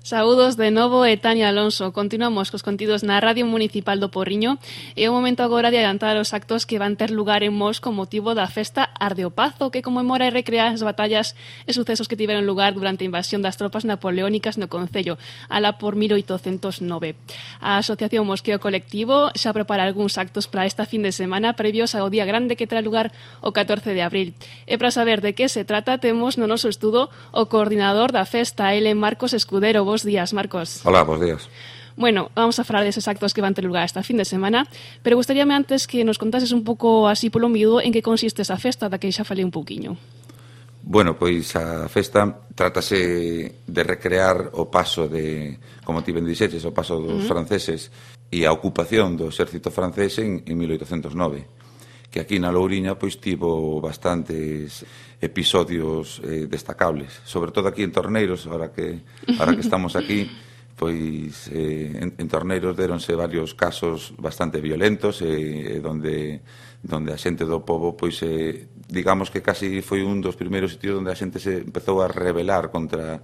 Saúdos de novo, e Tania Alonso. Continuamos cos contidos na Radio Municipal do Porriño. É o momento agora de adiantar os actos que van ter lugar en Mos con motivo da festa Arde o Pazo, que conmemora e recrea as batallas e sucesos que tiveron lugar durante a invasión das tropas napoleónicas no Concello, alá por 1809. A Asociación Mosqueo Colectivo xa prepara algúns actos para esta fin de semana previos ao Día Grande que terá lugar o 14 de abril. E para saber de que se trata, temos no noso estudo o coordinador da festa, ele Marcos Escudero. Bos días, Marcos. Hola, bos días. Bueno, vamos a falar deses actos que van ter lugar esta fin de semana, pero gustaríame antes que nos contases un pouco así polo miúdo en que consiste esa festa da que xa falei un pouquiño. Bueno, pois a festa trátase de recrear o paso de, como ti ben dixeches, o paso dos franceses e a ocupación do exército francés en 1809, que aquí na Louriña pois tivo bastantes episodios destacables, sobre todo aquí en Torneiros, ahora que estamos aquí, pois en Torneiros deronse varios casos bastante violentos donde a xente do pobo pois digamos que casi foi un dos primeiros sitios onde a xente se empezou a rebelar contra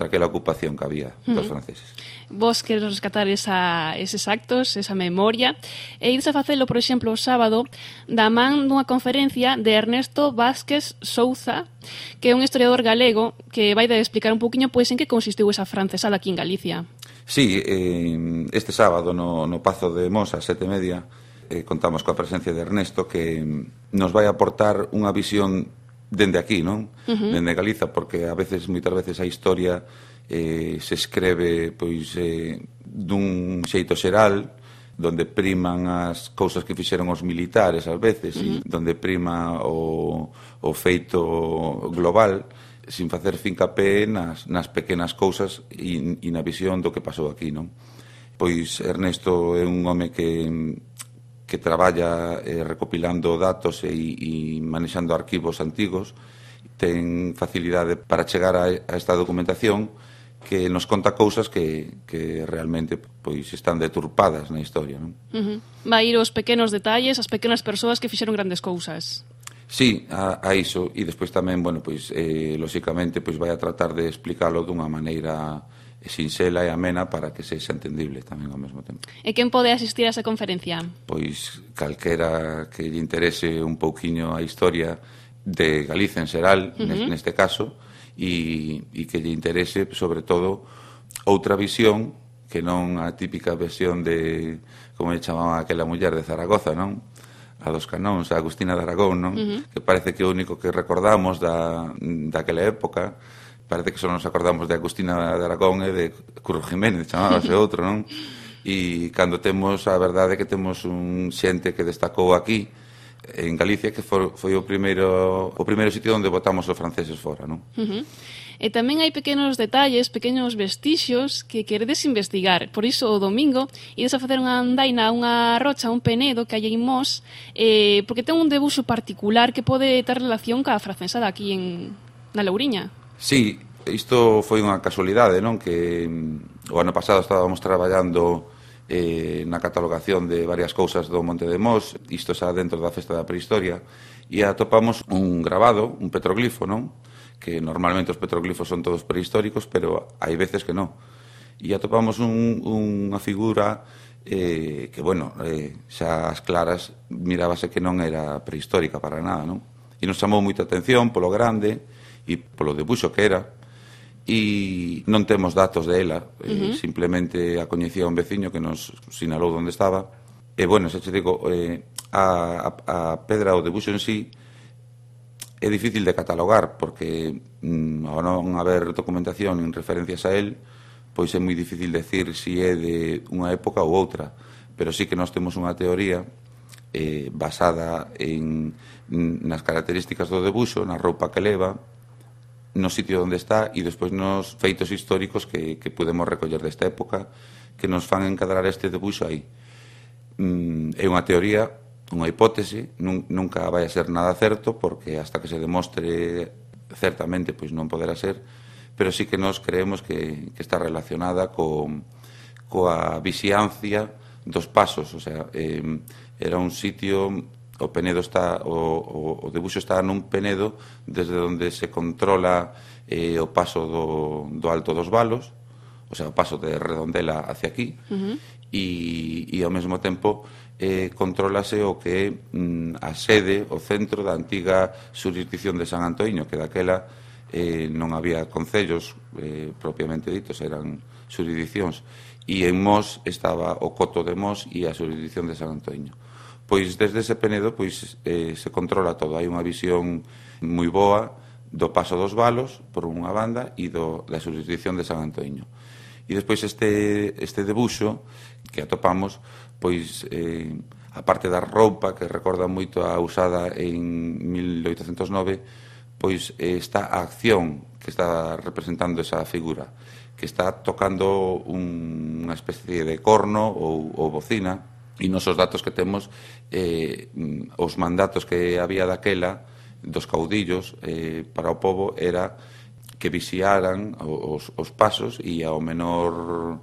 aquela ocupación que había dos franceses. Vos queres rescatar eses actos, esa memoria, e ides a facelo, por exemplo, o sábado, da man dunha conferencia de Ernesto Vázquez Souza, que é un historiador galego que vai de explicar un poquinho pois en que consistiu esa francesada aquí en Galicia. Sí, este sábado no Pazo de Mos a 7:30 contamos coa presencia de Ernesto, que nos vai aportar unha visión dende aquí, non? Dende Galiza, porque moitas veces a historia se escreve pois dun xeito xeral, donde priman as cousas que fixeron os militares ás veces, e donde prima o feito global, sin facer fincapé nas pequenas cousas e na visión do que pasou aquí, non? Pois Ernesto é un home que traballa recopilando datos e manexando arquivos antigos, ten facilidade para chegar a esta documentación que nos conta cousas que realmente pois están deturpadas na historia, non? Vai ir os pequenos detalles, as pequenas persoas que fixeron grandes cousas. Sí, a iso, e despois tamén, bueno, pois lóxicamente pois vai a tratar de explicalo dunha maneira sinxela e amena para que sexa entendible tamén ao mesmo tempo. E quen pode asistir a esa conferencia? Pois calquera que lle interese un pouquiño a historia de Galicia en xeral, neste caso, e que lle interese, sobre todo, outra visión que non a típica versión de, como lle chamaban aquela muller de Zaragoza, non? A dos canóns, a Agustina de Aragón, non? Que parece que o único que recordamos daquela época, parece que só nos acordamos de Agustina de Aragón e de Curro Jiménez, chamábase outro, non? E cando temos, a verdade é que temos un xente que destacou aquí, en Galicia, que foi o primeiro sitio onde botamos os franceses fora, non? E tamén hai pequenos detalles, pequenos vestixios que queredes investigar. Por iso, o domingo, ides a facer unha andaina, unha rocha, un penedo que hai en Mos, porque ten un debuxo particular que pode ter relación ca francesada aquí na Louriña. Sí, isto foi unha casualidade, non? Que o ano pasado estábamos traballando na catalogación de varias cousas do Monte de Mos, isto xa dentro da festa da prehistoria, e atopamos un grabado, un petroglifo, non? Que normalmente os petroglifos son todos prehistóricos, pero hai veces que non. E atopamos unha figura que, bueno, xa as claras mirábase que non era prehistórica para nada, non? E nos chamou moita atención polo grande e polo debuxo que era, e non temos datos de ela, simplemente a coñecía un veciño que nos sinalou onde estaba. E, bueno, xa te digo, a pedra, o debuxo en sí, é difícil de catalogar, porque ao non haber documentación en referencias a él, pois é moi difícil decir se é de unha época ou outra, pero sí que nós temos unha teoría basada nas características do debuxo, na roupa que leva, no sitio onde está e despois nos feitos históricos que podemos recoller desta época que nos fan encadrar este debuxo aí. É unha teoría, unha hipótese, nunca vai a ser nada certo, porque hasta que se demostre certamente pois non poderá ser, pero sí que nos creemos que está relacionada coa vixiancia dos pasos, o sea, era un sitio, o penedo está, o debuxo está nun penedo desde onde se controla o paso do Alto dos Valos, o sea, o paso de Redondela hacia aquí, e ao mesmo tempo contrólase o que é a sede, o centro da antiga xurisdicción de San Antoíño, que daquela non había concellos propiamente ditos, eran xurisdiccións, e en Mos estaba o Coto de Mos e a xurisdicción de San Antoíño. Pois desde ese Penedo pois se controla todo, hai unha visión moi boa do paso dos Valos por unha banda e da xurisdicción de San Antoíño. E despois este debuxo que atopamos, pois a parte da roupa que recorda moito a usada en 1809, pois está a acción que está representando esa figura, que está tocando unha especie de corno ou bocina, e nosos datos que temos, os mandatos que había daquela dos caudillos para o pobo era que vixiaran os pasos e ao menor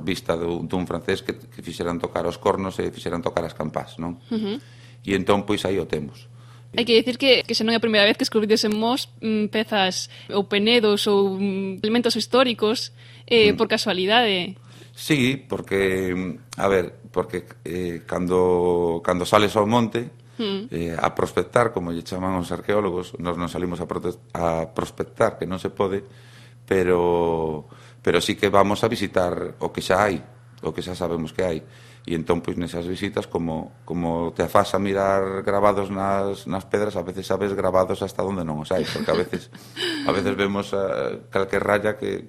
vista dun francés que fixeran tocar os cornos e fixeran tocar as campás, non? E entón, pois, aí o temos. Hai que dicir que se non é a primeira vez que escubrides en Mos pezas ou penedos ou elementos históricos por casualidade. Sí, porque, a ver, cando sales ao monte a prospectar, como lle chaman os arqueólogos, nos non salimos a prospectar, que non se pode, pero sí que vamos a visitar o que xa hai, o que xa sabemos que hai. E entón, pois, nesas visitas, como te afas a mirar grabados nas pedras, a veces sabes grabados hasta onde non os hai, porque a veces vemos calquer raya que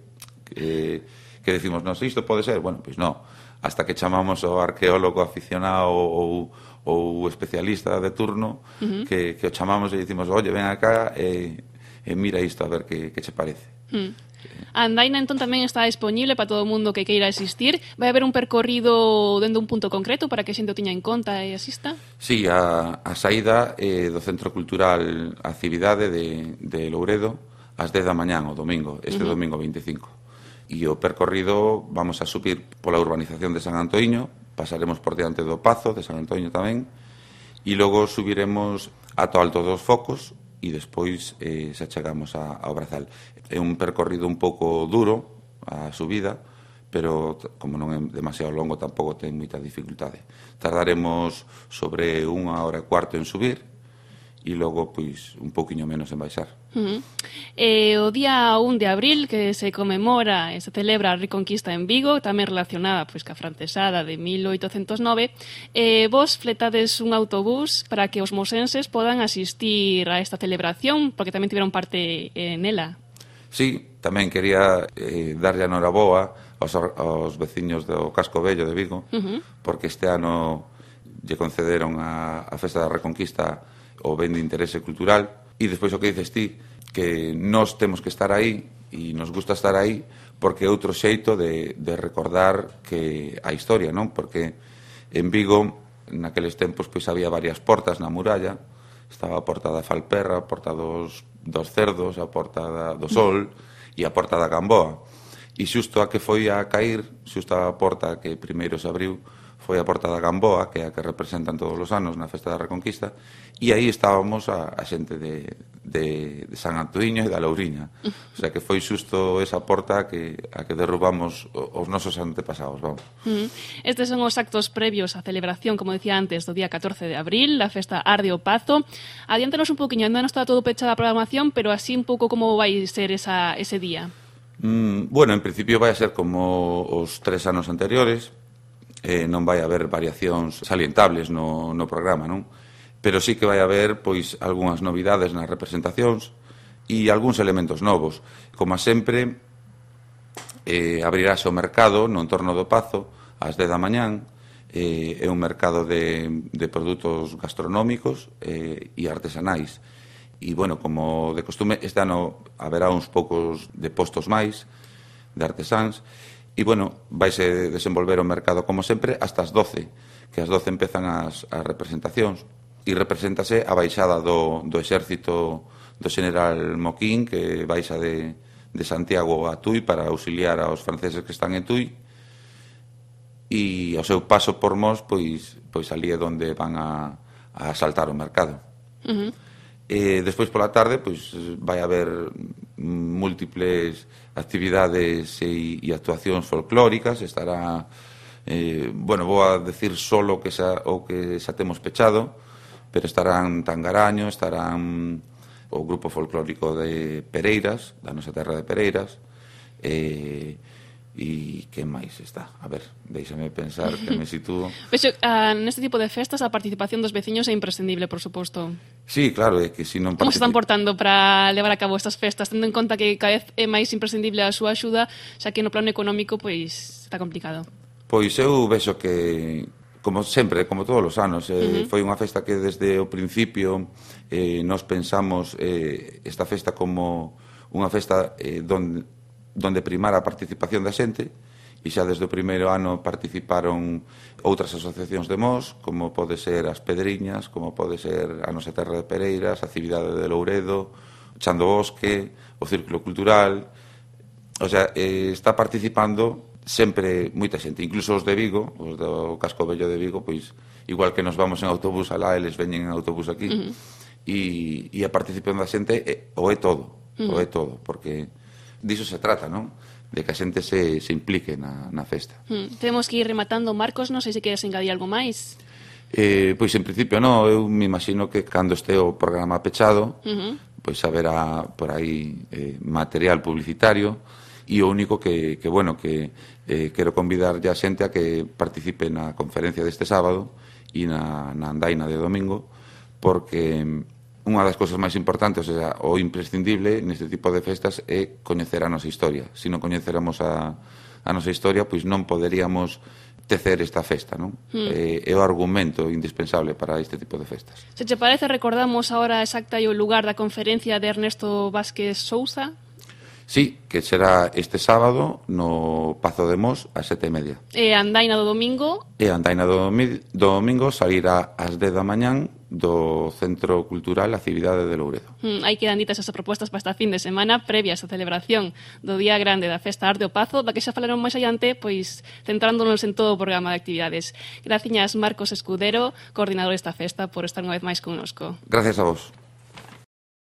decimos, non, isto pode ser, bueno, pois non, hasta que chamamos ao arqueólogo aficionado ou especialista de turno, que o chamamos e dicimos, oye, ven acá e mira isto a ver que che parece. A andaina entón tamén está disponible para todo o mundo que queira asistir. Vai haber un percorrido dentro un punto concreto para que a xente o tiña en conta e asista? Sí, a saída do Centro Cultural Actividade de Louredo ás 10 da mañán o domingo, domingo 25. E o percorrido vamos a subir pola urbanización de San Antoíño, pasaremos por diante do Pazo de San Antoíño tamén, e logo subiremos ata o Alto dos Focos e despois se chegamos ao Brazal. É un percorrido un pouco duro a subida, pero como non é demasiado longo tampouco ten moita dificultade. Tardaremos sobre 1 hora e cuarto en subir e logo pois un pouquiño menos en baixar. O día 1 de abril que se conmemora e se celebra a Reconquista en Vigo, tamén relacionada pois ca francesada de 1809, vos fletades un autobús para que os mosenses podan asistir a esta celebración, porque tamén tiveron parte nela. Sí, tamén quería darlle a noraboa aos veciños do Casco Vello de Vigo, porque este ano lle concederon a Festa da Reconquista o ben de interese cultural, e despois o que dices ti, que nós temos que estar aí e nos gusta estar aí porque é outro xeito de recordar que a historia, non? Porque en Vigo naqueles tempos pois había varias portas na muralla, estaba a porta da Falperra, a porta dos Cerdos, a porta do Sol e a porta da Gamboa, e xusto a que foi a cair, xusto a porta que primeiro se abriu foi a porta da Gamboa, que é a que representan todos os anos na Festa da Reconquista, e aí estábamos a xente de San Antoíño e da Louriña. O sea que foi xusto esa porta a que derrubamos os nosos antepasados, vamos. Estes son os actos previos á celebración, como decía antes, do día 14 de abril, a Festa Arde o Pazo. Adiántanos un pouquiño, ainda non está todo pechada a programación, pero así un pouco como vai ser ese día. Bueno, en principio vai a ser como os 3 anos anteriores, non vai haber variacións salientables no programa, non? Pero sí que vai haber pois algunhas novidades nas representacións e algúns elementos novos. Como sempre, abrirase o mercado no entorno do Pazo ás 10 da mañán. É un mercado de produtos gastronómicos e artesanais. E, bueno, como de costume, este ano haberá uns poucos de postos máis de artesáns. E, bueno, vaise desenvolver o mercado, como sempre, hasta as 12, que as 12 empezan as representacións. E represéntase a baixada do exército do general Moquín, que baixa de Santiago a Tui para auxiliar aos franceses que están en Tui. E ao seu paso por Mos, pois ali é onde van a asaltar o mercado. Despois pola tarde, pois vai haber múltiples actividades e actuacións folclóricas. Estará, bueno, vou a decir solo o que xa temos pechado, pero estarán Tangaraño, estarán o grupo folclórico de Pereiras, da nosa terra de Pereiras, e que máis está? A ver, déixame pensar que me sitúo. Vexo, neste tipo de festas a participación dos veciños é imprescindible, por suposto. Sí, claro, é que se non Como se están portando para levar a cabo estas festas, tendo en conta que cada vez é máis imprescindible a súa axuda, xa que no plano económico pois está complicado? Pois eu vexo que, como sempre, como todos os anos, foi unha festa que desde o principio nos pensamos esta festa como unha festa donde primara a participación da xente, e xa desde o primeiro ano participaron outras asociacións de Mos, como pode ser as Pedriñas, como pode ser a nosa terra de Pereiras, a Cividade de Louredo, o Chan do Bosque, o Círculo Cultural. O sea, está participando sempre moita xente, incluso os de Vigo, os do Casco Vello de Vigo, pois igual que nos vamos en autobús alá, eles veñen en autobús aquí, e a participación da xente o é todo, porque diso se trata, non? De que a xente se implique na festa. Temos que ir rematando, Marcos, non sei se queres engadir algo máis. Pois en principio non, eu me imagino que cando este o programa pechado, pois haberá por aí material publicitario, e o único que quero convidar a xente a que participe na conferencia deste sábado e na andaina de domingo, porque unha das cousas máis importantes, o imprescindible neste tipo de festas é coñecer a nosa historia. Se non coñeceramos a nosa historia, pois non poderíamos tecer esta festa, non? É o argumento indispensable para este tipo de festas. Se te parece, recordamos a hora exacta e o lugar da conferencia de Ernesto Vázquez Sousa? Sí, que será este sábado no Pazo de Mos ás 7:30. E a andaina do domingo? E a andaina do domingo salirá ás 10 da mañán do Centro Cultural A Cividade de Louredo. Aí quedan ditas esas propostas para esta fin de semana previas á celebración do Día Grande da Festa Arte ao Pazo, da que xa falaron máis adiante, pois centrándonos en todo o programa de actividades. Graciñas, Marcos Escudero, coordinador desta festa, por estar unha vez máis connosco. Gracias a vos.